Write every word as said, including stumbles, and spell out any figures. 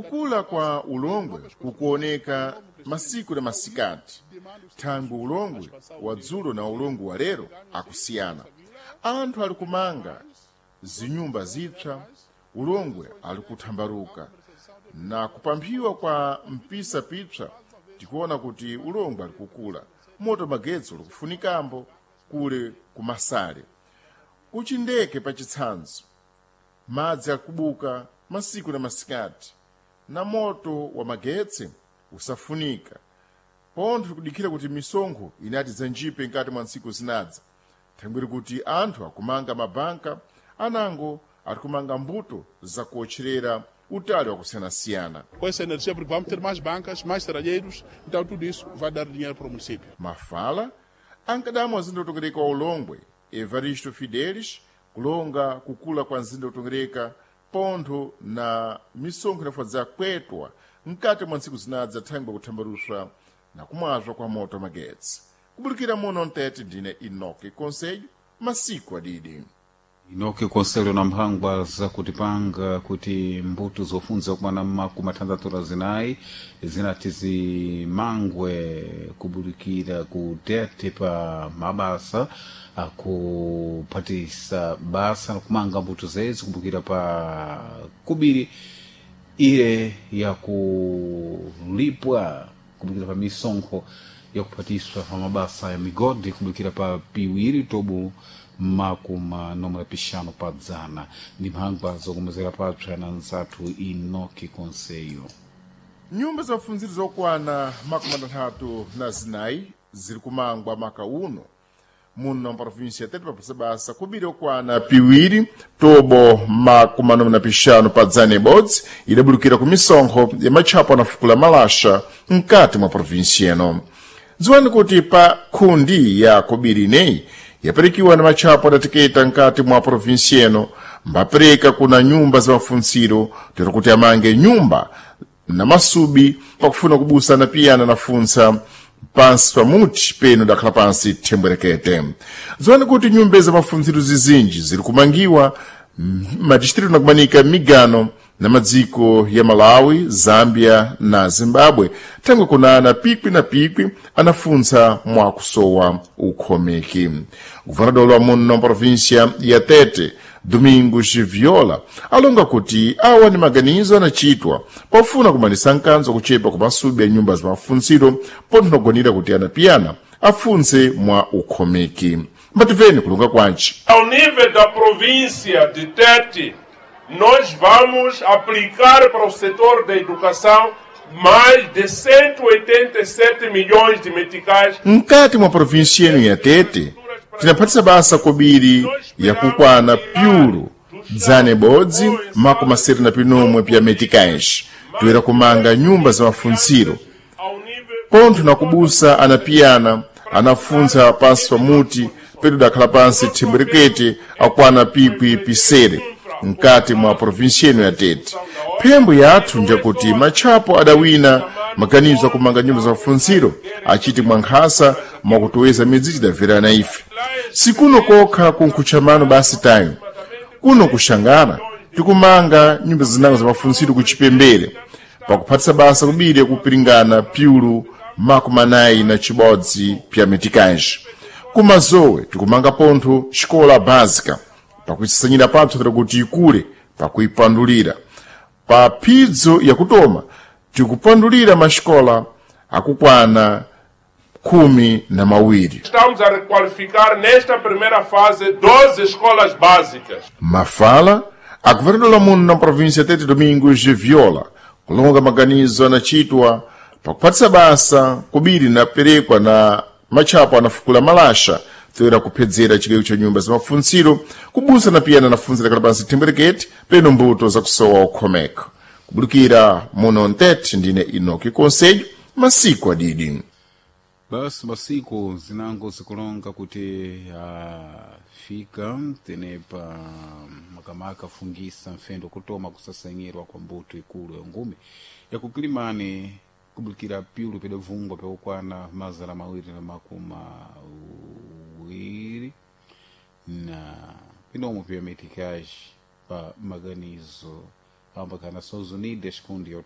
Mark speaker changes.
Speaker 1: Kukula kwa ulongwe kukuoneka masiku na masikati. Thangwi ulongwe wa dzulo na ulongwe wa lero akusiyana. Anthu ali kumanga zinyumba zipsa, ulongwe ali kuthambaruka na kupamphiwa kwa mpisa pipsa, tikuona kuti ulongwe ali kukula. Moto magetsi ulikufunikambo kule kumasale. Kuchindeke pachitsanzo, madzi akubuka masiku na masikati na moto wa magetsi usafunika. Pontho tikudikira kuti misonkho inati zanjipe nkati mwa ntsiku zinadza. Thangwiri kuti anthu akumanga mabanka, anango arikumanga mbuto zakuotcherera utali wakusiyanasiyana.
Speaker 2: Com essa energia, porque vamos ter mais bancas, mais serralheiros, então tudo isso vai dar dinheiro para o município.
Speaker 1: Mafala ankadamwa mzinda utongereka wa Ulongwe, Evaristo Fidelis, kulonga kukula kwa mzinda utongereka pontho na misonkho inafadza kwetwa mkati mwa ntsiku zinadza thangwi kuthambaruswa na kumwazwa kwa moto magetsi. Kubulikira muno mtete ndine Enoque Conselho, masiku adidi.
Speaker 3: Inoki Conselho na mphangwa zakutipanga kuti mbuto zofunza kumana mmakumi athanthatu na zinayi zinati zimangwe kubulikira ku tete pa mabasa akuphatisa basa nakumanga mbuto zezi kumbukira pa kubiri ile yakulipwa kumbukira pa misonkho yakuphatiswa pa mabasa ya migodi kumbukira pa piwiri tobu makumi nomwe pixano pa dzana ndi mphangwa zokomezera papsa na nzathu Enoque Conselho.
Speaker 1: Nyumba za mafunziro zokwana makumi atatu na zinayi ziri kumangwa maka uno muno mprovinsia tete papasa basa kubiri okwana piwiri tobo makumi anomwe na pixanu pa dzana ibodzi idabulukira ku misonkho ya matchapo anafukula malasha mkati mwa provinsia ino. Dziwani kuti pa khundi ya kobiri ineyi yapirikiwa na matchapo adateketa mkati mwa provinsia ino, mbapereka kuna nyumba za mafunziro tero kuti amange nyumba na masubi pakufuna kubusana piyana nafunsa pansi pamuti peno dakhala pansi thembwerekete. Dziwani kuti nyumba za mafunziro zizinji ziri kumangiwa madistritu nakumanika migano na madziko ya Malawi, Zambia na Zimbabwe, thangwi kunana pikwi na pikwi anafuntsa mwakusowa ukhomeki. Guvernador wa muno província ya Tete, Domingos Viola, alonga kuti awa ni maganizo anachitwa pofuna kumanisa nkanzo kuchepa kwa masubi ya nyumba za mafuntsiro pontho nakugonera kuti anapiyana afuntse mwa ukhomeki. Mbatimveni kulunga kwanci.
Speaker 4: Ao nível da província de Tete, nós vamos aplicar para o setor da educação mais de cento e oitenta e sete milhões de meticais.
Speaker 1: Mkati mwa província ino ya Tete, tinaphatisa basa kobiri yakukwana pyulu dzana ibodzi makumi asere na pinomwe pya meticais, toyera kumanga nyumba za mafuntsiro pontho nakubusa anapiyana anafuntsa pansi pamuti pedu dakhala pansi thembwerekete akwana pikwi pisere mkati mwa provinsia ino ya Tete. Phembo yathu njakuti matchapo adawina maganizo akumanga nyumba za mafuntsiro achiti mwankhasa mwakutoweza midzi tidamverana ife. Sikuno kokha kunkhutchamano basi tayo, kuno kuxangana tikumanga nyumba zinango za mafuntsiro kuchipembere pakuphatisa basa kubiri kupiringana pyulu makumi anayi na chibodzi pya meticais. Kumazowe tikumanga pontho xikola básica pakuisasanyira pathu tira kuti ikule pakuipandulira. Pa phidzo yakutoma tikupandulira maxikola akukwana khumi na mawiri.
Speaker 4: Estamos a requalificar nesta primeira fase doze escolas básicas.
Speaker 1: Mafala, a governadora muno na província Tete Domingos de Viola, kulonga maganizo anachitwa pakuphatisa basa kubiri na perekwa na matchapo anafukula malasha toera kuphedzera chigayo cha nyumba za mafuntsiro kubusa na piyana nafunzira kala pansi thembwerekete peno mbuto zakusowa ukhomeka. Kubulikira muno mtete ndine Enoque Conselho, masiku adidi.
Speaker 3: Basi masiku zinango zikulonga kuti afika tenepa makamaka afungisa mfendo kutoma kusasanyirwa kwa mbuto ikulu ya ngumi yakukilimani kubulikira pyulu pidavungwa pyakukwana mazana mawiri na makumi awiri na pinomwe pya meticais pa maganizo ambakana Nações Unidas kundi ya